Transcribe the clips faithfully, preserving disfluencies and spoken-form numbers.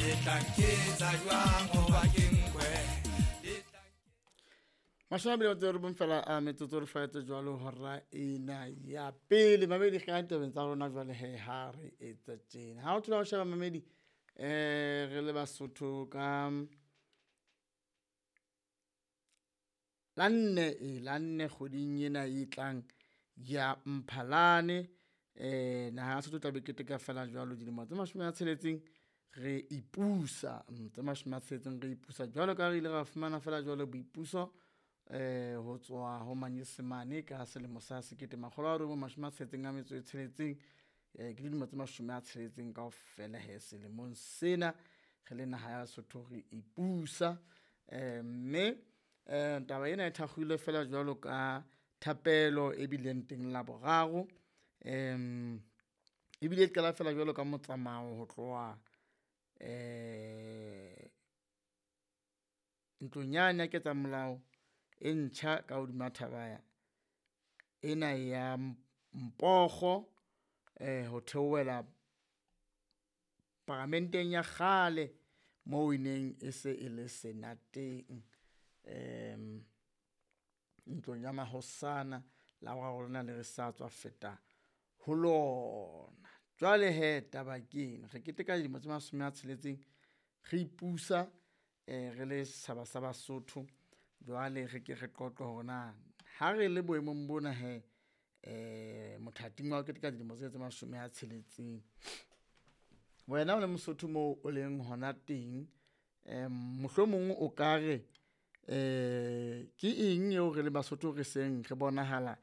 Le tla nketsa jwang hoba ke nkwe? Le tla Mashome a mabedi a metso e robong fela a metsotso re faetse jwalo hora ena ya pele. Mamedi re kena ditabeng tsa rona jwale he ha re etsa tjena. Ha o thola o sheba mamedi eh re le Basotho ka la nne e la nne kgweding ena e tlang ya Mphalane, eh naha ya Lesotho e tla be keteka fela jwalo dilemo tse mashome a tsheletseng re ipusa, mm, tse mashome a tsheletseng re ipusa jwalo ka ha re ile ra fumana fela jwalo boipuso eh ho tswa ho manyesemane ka selemo sa sekete makgolo a robong mashome a tsheletseng a metso e tsheletseng. Eh ke dilemo tse mashome a tsheletseng kaofela he selemong sena re le naha ya Lesotho re ipusa. Eh mme eh taba ena e thakgilwe fela jwalo ka thapelo e bileng teng Laboraro, em ebile e qala fela jwalo ka motsamao ho tloha eh ntlong yane ya ketsamolao e ntjha ka hodima thaba ena ya Mpogo eh ho theohela paramenteng ya kgale moo e neng e se e le Senateng. Em ntlong ya mahosana Laboraro lena le re sa tswa feta ho lona. Jwale hee taba ke ena, re keteka dilemo tse mashome a tsheletseng re ipusa eh re le setjhaba sa Basotho. Jwale re ke re qoqe hore na ha re le boemong bona hee eh mothating wa ho keteka dilemo tsena tse mashome a tsheletseng. Wena o le Mosotho moo o leng hona teng, em mohlomong o ka re eh ke eng eo re le Basotho re seng re bonahala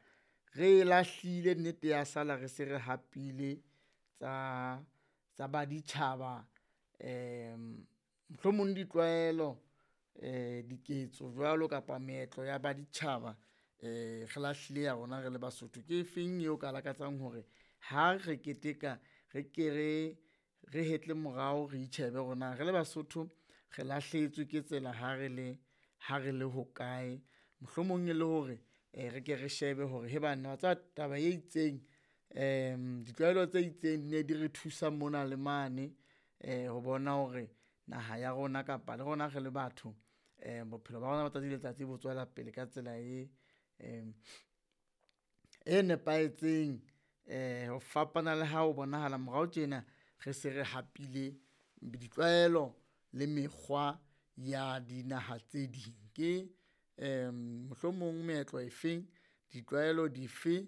re e lahlile nnete ya sala re se re hapile tsa tsa baditjhaba em mohlomong ditlwaelo eh diketso jwalo kapa meetlo ya baditjhaba eh re lahlile ya rona re le Basotho. Ke efeng eo ka lakatsang hore ha re keteka re ke re re hetle morao, re itjhebe hore na re le Basotho re lahlehetswe ke tsela ha re le ha re le hokae. Mohlomong e le hore eh re ke re shebe hore he banna wa tseba taba e itseng em ditlwaelo tse itseng di ne di re thusa mona le mane eh ho bona hore naha ya rona kapa le rona re le batho eh bophelo ba rona ba tsatsi le letsatsi bo tswela pele ka tsela e em e nepahetseng eh ho fapana le ha ho bonahala morao tjena re se re hapile ditlwaelo le mekgwa ya dinaha tse ding. Ke em mohlomong meetlo e feng, ditlwaelo dife.